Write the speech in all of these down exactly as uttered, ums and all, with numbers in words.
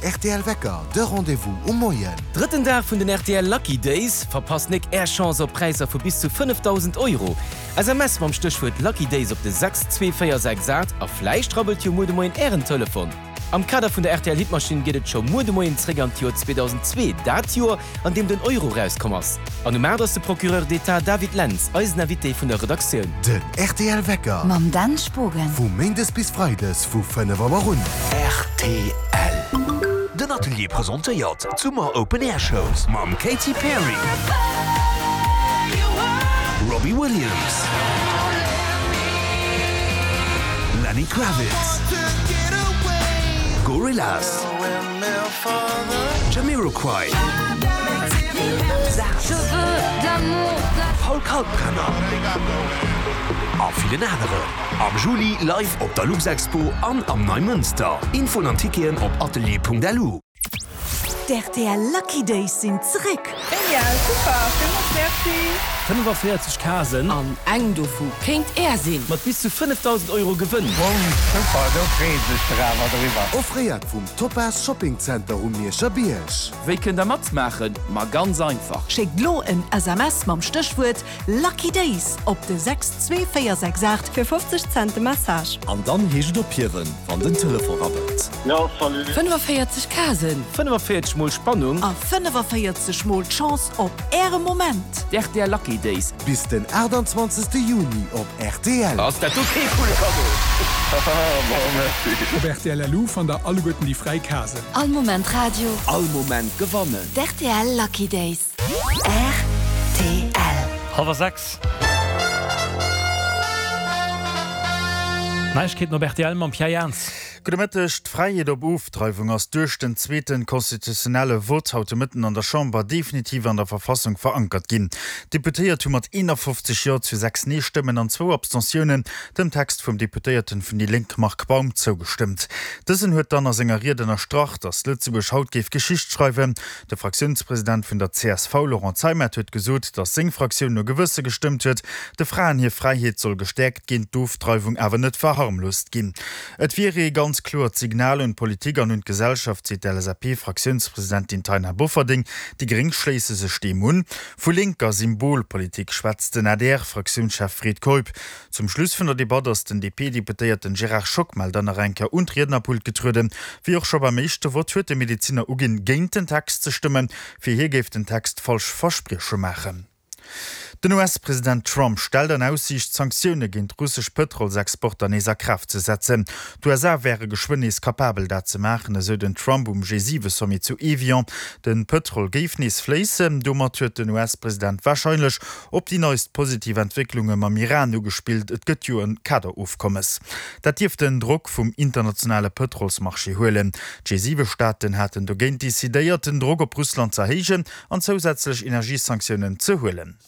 R T L Wecker, de Rendez-vous um Moien. Drëtten Dag vun den R T L Lucky Days, Verpasst nik Är Chance op Präisser vu bis zu fënnefdausend Euro! S M S mam Stéchwuert Lucky Days op de sechs zwee véier sechs aacht a vläicht rabbelt jo muer de Moien Ären Telefon. Am Kader vun der R T L Hitmaschinn geet et scho muer de Moien zréck an d'Joer zweedausendzwee, dat Joer, an deem den Euro rauskomm ass. An um aacht ass de Procureur d'État David Lentz eisen Invité vun der Redaktioun. Den R T L Wecker. Mam Dan Spogen. Vu méindes bis freides vu fënnef Auer un. R T L. Den Atelier presentéiert d'Summer Open Air Shows mam Katy Perry, Robbie Williams, Lenny Kravitz, Gorillaz, Jamiroquai, Paul Kalkbrenner a villen aneren. Am Juli live op der Luxexpo an am Neimënster. Infoen an Ticketen op atelier punkt lu. D R T L Lucky Days sinn zeréck. Genial, super, villmools merci. fënnefenvéierzeg Kasen. An eng dovu kéint Är sinn. Mat bis zu fënnefdausend Euro Gewënn. Bon, super, do freet sech der awer driwwer. Offréiert vum Topaz Shopping Center um Mierscher Bierg. Wéi kënnt der matmaachen? Ma ganz einfach. Schéckt lo en S M S mam Stéchwuert Lucky Days op de sechs zwee véier sechs aacht fir fofzeg Cent de Message. An dann heescht et ophiewen, wann den Telefon rabbelt. Ja, salut. fënnefenvéierzeg Kasen. Fënnefenvéierzeg mol Spannung. A fënnefenvéierzeg mol d'Chance op Äre Moment. D R T L Lucky Days. Bis den achtundzwanzegste Juni op R T L. Ass dat do kee coole Cadeau? Bon, merci. Op R T L L U fannt der alleguerten déi fräi Kasen. All Moment Radio. All Moment gewannen. D R T L Lucky Days. R T L. Halwer sechs. Neiegkeeten op R T L mam Pierre Jans. Gudde Mëtteg. D'Fräiheet op Ofdreiwung ass duerch den zweeten konstitutionelle Vott haut de Mëtten an der Chamber definitiv an der Verfassung verankert ginn. D'Deputéiert hu mat eenafofzeg Jo zu sechs Nee-Stëmmen an zwou Abstentiounen dem Text vum Deputéierten vun déi Lénk Marc Baum zougestëmmt. Dësen huet dann a senger Ried ënnerstrach, datt Lëtzebuerg haut géif Geschicht schreiwen. De Fraktiounspresident vun der C S V Laurent Zeimet huet gesot, datt seng Fraktioun no Gewësse gestëmmt huet. De Fraen hir Fräiheet soll gestäerkt ginn, d'Ofdreiwung awer net verharmlost ginn. Et wier ee ganz kloert Signal un d'Politik an un d'Gesellschaft, seet d'L S A P-Fraktiounspresidentin Taina Bofferding. Déi Gréng schléisse sech deem un. Vu linker Symbolpolitik schwätzt den A D R-Fraktiounschef Fred Keup. Zum Schluss vun der Debatt ass den D P-Deputéierten Gérard Schockmel dann nach eng Kéier un d'Riednerpult getrueden. Wéi och scho beim éischte Vott huet de Mediziner uginn, géint den Text ze stëmmen. Fir hie géif den Text falsch Versprieche maachen. Den U S-President Trump stellt an Aussiicht, Sanktioune géint russesch Pëtrolsexporter nees a Kraaft ze setzen. D'U S A wäre geschwënn nees kapabel, dat ze maachen, esou den Trump um G siwe Sommet zu Evian. Den Pëtrol géif nees fléissen. Domat huet den U S-President warscheinlech op déi neist positiv Entwécklunge mam Iran ugespillt. Et gëtt jo en Kaderofkommes. Dat dierft den Drock vum internationale Pëtrolsmarché huelen. D'G siwe Staaten haten dogéint decidéiert, den Drock op Russland ze erhéijen an zousätzlech Energiesanktiounen ze huelen.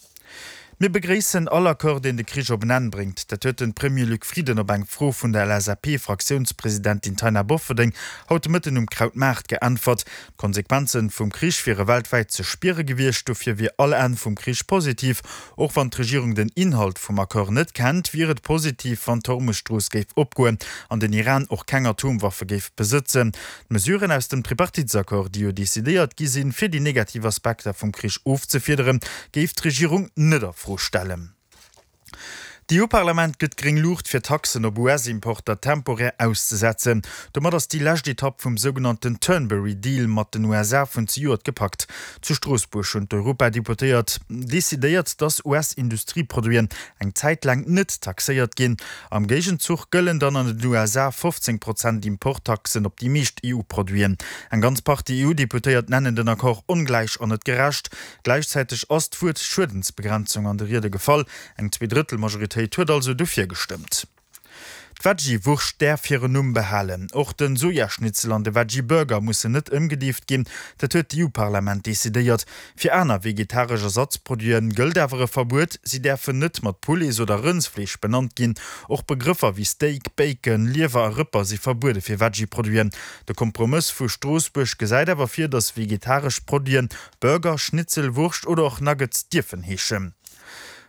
Mir begréissen all Accord, deen de Krich op en Enn bréngt. Dat huet den Premier Luc Frieden op eng Fro vun der L S A P-Fraktiounspresidentin Taina Bofferding haut de Mëtten um Krautmaart geäntwert. D'Konsequenzen vum Krich wiere weltwäit ze spiere gewiescht, dofir wier all Enn vum Krich positiv. Och wann d'Regierung den Inhalt vum Accord net kennt, wier et positiv, wann d'Hormuzstrooss géif opgoen an den Iran och keng Atomwaffe géif besëtzen. D'Mesuren aus dem Tripartitsaccord, déi jo decidéiert gi sinn, fir déi negativ Aspekter vum Krich ofzefiederen, géif d'Regierung net a Fro stellen. D'E U-Parlament gëtt gréng Luucht fir Taxen op U S-Importer temporär auszesetzen. Domat ass déi lescht Etapp vum sougenannten Turnberry-Deal mat den U S A vun zejoert gepackt. Zu Stroossbuerg hunn d'Europadeputéiert decidéiert, datt U S-Industrieproduiten eng Zäit laang net taxéiert ginn. Am Géigenzuch gëllen dann an den U S A fofzéng Prozent Importtaxen op déi meescht E U-Produiten. Eng ganz Partie E U-Deputéiert nennen den Accord ongläich an net gerecht. Gleichzeitig ass d'Wuert Schuedensbegrenzung an de Riede gefall. Eng Zweedrëttelmajoritéit huet also dofir gestëmmt. D'Veggie-Wurscht däerf hiren Numm behalen. Och den Sojaschnitzel an de Veggie-Burger mussen net ëmgedieft ginn. Dat huet d'E U-Parlament decidéiert. Fir aner vegetaresch Ersatzproduiten gëllt awer e Verbuet. Si däerfen net mat Poulet oder Rëndsfleesch benannt ginn. Och Begrëffer wéi Steak, Bacon, Liewer a Rëpper si verbuede fir Veggie-Produiten. De Kompromiss vu Stroossbuerg gesäit awer fir, datt vegetaresch Produiten Burger, Schnitzel, Wurscht oder och Nuggets dierfen heeschen.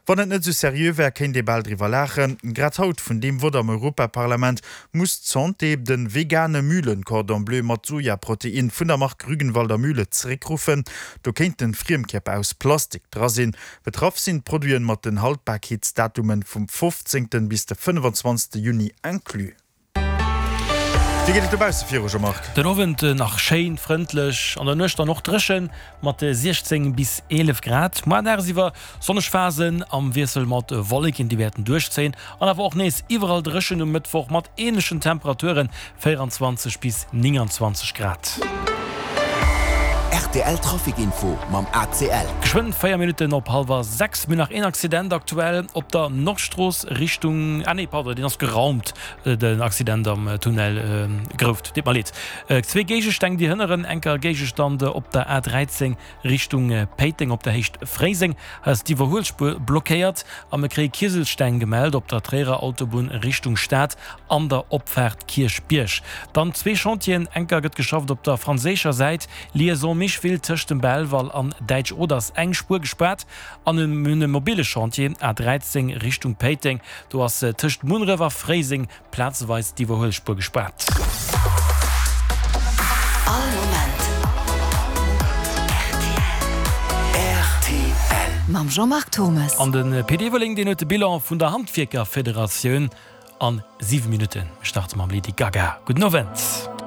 Wann et net sou seriö wär, kéint ee bal driwwer laachen. Grad haut vun deem Vott am Europaparlament muss d'Santé de vegane Mühlen-Cordon Bleu mat Sojaprotein vun der Mark Rügenwalder Mühle zeréckruffen. Do kéinten Friemkierper aus Plastik dra sinn. Betraff sinn d'Produiten mat den Haltbarkeetsdatumen vum fofzéngten bis de fënnefenzwanzegste Juni inclus. Wéi geet et dobausse viru, Jean-Marc? Den Owend nach schéin frëndlech, an der Nuecht dann och dréchen mat siechzéng bis eelef Grad. Muer dagsiwwer sonneg Phasen am Wiessel mat Wolleken, déi wäerten duerchzéien, an awer och nees iwwerall dréchen um Mëttwoch mat änlechen Temperaturen, véieranzwanzeg bis nénganzwanzeg Grad. Rtl Trafic Info mam A C L. Geschwënn véier Minutten op hallwer sechs. Mir hunn nach een Accident aktuell op der Nordstrooss Richtung, ah nee, pardon, deen ass geraumt, den Accident am Tunnel Grouft. Deet mer leed. Zwee Géigestänn, déi hënneren. Enker Géigestand op der A dräizéng Richtung Péiteng op der Héicht Fréiseng. Hei ass d'Iwwerhuelspuer blockéiert a mir kréie Kieselsteng gemellt op der Tréierer Autobunn Richtung Stad an der Opfaart Kierchbierg. Dann zwee Chantieren, Enker gëtt geschafft op der franséischer Säit, Liaison Micheville tëscht dem Belval an Däitsch-Oder ass eng Spuer gespaart an mir hunn e mobile Chantier, A dräizéng Richtung Péiteng, do ass tëscht Munneref a Fréiseng plazeweis d'Iwwerhuelspuer gespaart. All Moment rtl. Mam Jean-Marc Thommes. An de Pit Everling, deen huet de Bilan vun der Handwierkerfederatioun an siwe Minutten. Mir starte mam Lady Gaga. Gudden Owend.